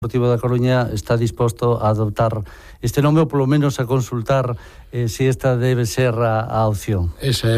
Deportivo da Coruña está disposto a adoptar este nome ou polo menos a consultar se esta debe ser a opción. Esa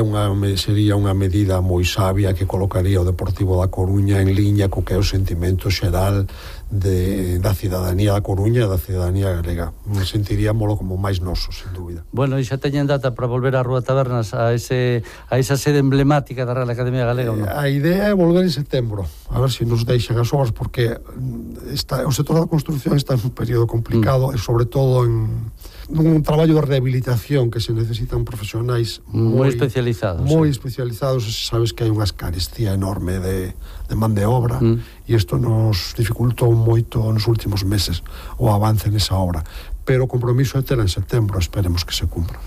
sería unha medida moi sabia que colocaría o Deportivo da Coruña en liña co que é o sentimento xeral da cidadanía da Coruña e da cidadanía galega. Sentiríamolo como máis noso, sen dúbida. Bueno, e xa teñen data para volver á Rúa Tabernas, a esa sede emblemática da Real Academia Galega, ou non? A idea é volver en setembro, a ver se nos deixan as obras, porque o sector da construcción está en un período complicado e sobre todo nun traballo de rehabilitación que se necesitan profesionais moi especializados. Moi especializados, sabes que hai unha escarestia enorme de man de obra e isto nos dificultou moito nos últimos meses o avance nesa obra, pero o compromiso é ter en setembro, esperemos que se cumpra.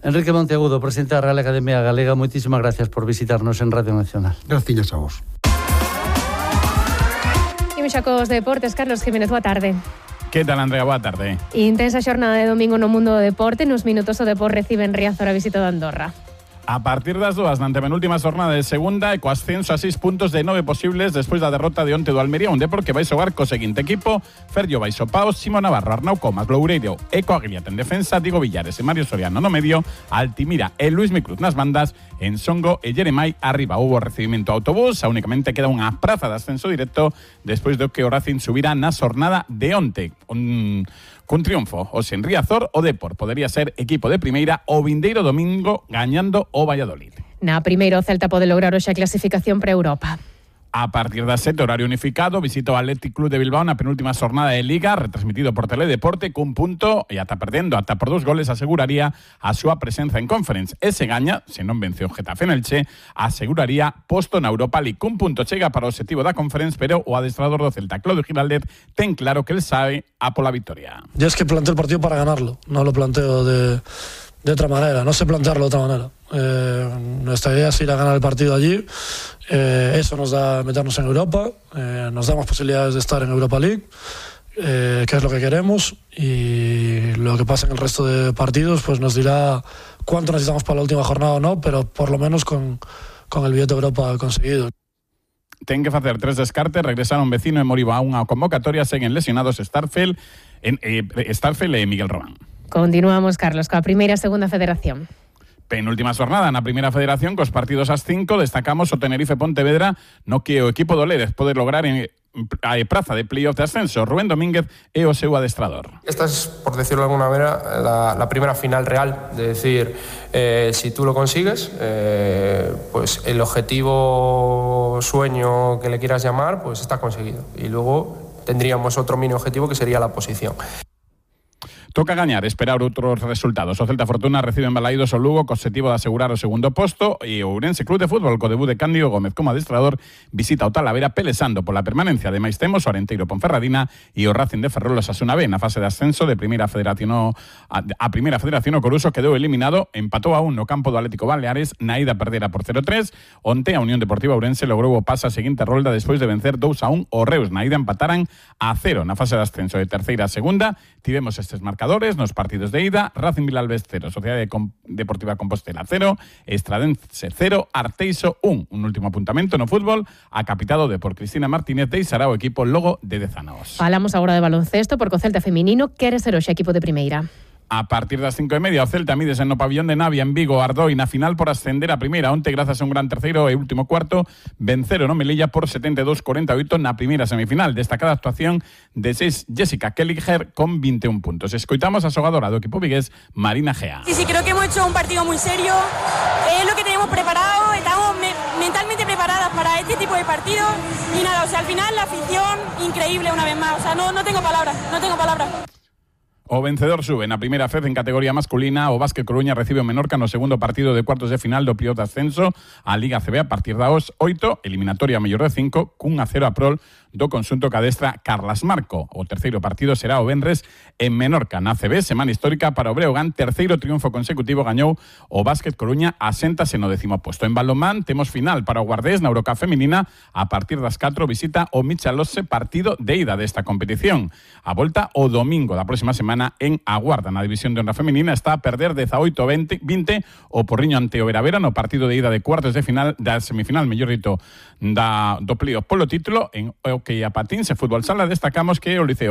Enrique Monteagudo, presidente da Real Academia Galega, moitísimas gracias por visitarnos en Radio Nacional. Gracias a vos. Imos xa cos deportes. Carlos Jiménez, boa tarde. Que tal, Andrea? Boa tarde. Intensa xornada de domingo no mundo do deporte. Nos minutos o Depor recibe en Riazor a visita de Andorra. A partir das 2 na antepenúltima jornada de segunda e co ascenso a 6 puntos de 9 posibles despois da derrota de onte do Almería, un Depor que vai xogar co seguinte equipo: Ferllo Baixo-Paos, Simo Navarro, Arnau Comas, Loureiro e Coagliat en defensa, Diego Villares e Mario Soriano no medio, Altimira e Luis Micruz nas bandas, Ensongo e Jeremai arriba. Houbo recibimento a autobús, únicamente queda unha praza de ascenso directo despois do que o Racing subira na xornada de onte. Cun triunfo, hoxe en Riazor, o Depor podería ser equipo de primeira o vindeiro domingo gañando o Valladolid. Na primeira, o Celta pode lograr hoxe a clasificación para Europa. A partir das 7, horario unificado, visita o Athletic Club de Bilbao na penúltima xornada de Liga, retransmitido por Teledeporte, cun punto e ata perdendo, ata por 2 goles, aseguraría a súa presenza en Conference. E se gaña, se non vence o Getafe en Elche, aseguraría posto na Europa League. Cun punto chega para o objetivo da Conference, pero o adestrador do Celta, Claudio Giraldez, ten claro que el sabe a pola victoria. Yo es que planteo el partido para ganarlo, no lo planteo de otra manera, no sé plantearlo de otra manera. Nuestra idea es ir a ganar el partido allí, eso nos da meternos en Europa, nos da más posibilidades de estar en Europa League, que es lo que queremos, y lo que pasa en el resto de partidos pues nos dirá cuánto necesitamos para la última jornada o no, pero por lo menos con el billete de Europa conseguido. Ten que facer 3 descartes, regresaron vecino e Moriba a unha convocatoria, seguen lesionados Starfel e Miguel Román. Continuamos, Carlos, coa primeira e segunda federación. Penúltima xornada na primeira federación, cos partidos ás 5, destacamos o Tenerife Pontevedra, no que o equipo do Ledes pode lograr a praza de playoff de ascenso. Rubén Domínguez é o seu adestrador. Esta es, por decirlo de alguna manera, la primera final real, de decir, si tú lo consigues, pues el objetivo, sueño que le quieras llamar, pues está conseguido. Y luego tendríamos otro mini objetivo que sería la posición. Toca gañar, esperar outros resultados. O Celta Fortuna recibe en Balaídos o Lugo co objetivo de asegurar o segundo posto, e o Ourense Club de Fútbol co debut de Cándido Gómez como adestrador visita o Talavera pelesando pola permanencia. Ademais temos o Arenteiro Ponferradina e o Racing de Ferrol Osasuna B na fase de ascenso de primeira federación a primeira federación. O Coruso quedou eliminado, empatou a 1 no campo do Atlético Baleares, na ida perdera por 0-3. Onte a Unión Deportiva Ourense logrou o pase a seguinte rolda despois de vencer 2-1 o Reus. Na ida empataran a 0 na fase de ascenso de terceira a segunda. Tivemos estes marcadores nos partidos de ida: Racing Vilalbes 0, Sociedade Deportiva Compostela 0, Estradense 0, Arteixo 1. Un último apuntamento no fútbol, a capitado por Cristina Martínez deixará o equipo logo de 10 anos. Falamos agora de baloncesto, porque o Celta feminino quere ser hoxe equipo de primeira. A partir das 5:30, o Celta mídese no pabillón de Navia en Vigo, Ardoi, na final por ascender a primeira. Onte, grazas a un gran terceiro e último cuarto, venceron o Melilla por 72-48 na primeira semifinal. Destacada actuación de Jessica Kelliger con 21 puntos. Escoitamos a xogadora do equipo vigués, Marina Gea. Sí, creo que hemos hecho un partido muy serio. Es lo que tenemos preparado. Estamos mentalmente preparadas para este tipo de partidos. Y nada, o sea, al final la afición, increíble una vez más. O sea, no tengo palabras, no tengo palabras. O vencedor sube na primeira vez en categoría masculina. O Básquet Coruña recibe o Menorca no segundo partido de cuartos de final do playoff de ascenso a Liga CB a partir das 8, eliminatoria mellor de 5, cun 0 a prol do conxunto que adestra Carlas Marco. O terceiro partido será o venres en Menorca na CB, semana histórica para o Breogán, terceiro triunfo consecutivo gañou o Básquet Coruña, aséntase no 10º posto. En balonmán temos final para o Guardés na Eurocup feminina, a partir das 4 visita o Michalose, partido de ida desta competición. A volta o domingo da próxima semana en Aguarda. Na división de honra feminina está a perder 18-20 o Porriño ante o Veravera no partido de ida de cuartos de final da semifinal, mellor dito, do playoff polo título. En o que a patins e fútbol sala destacamos que o Liceo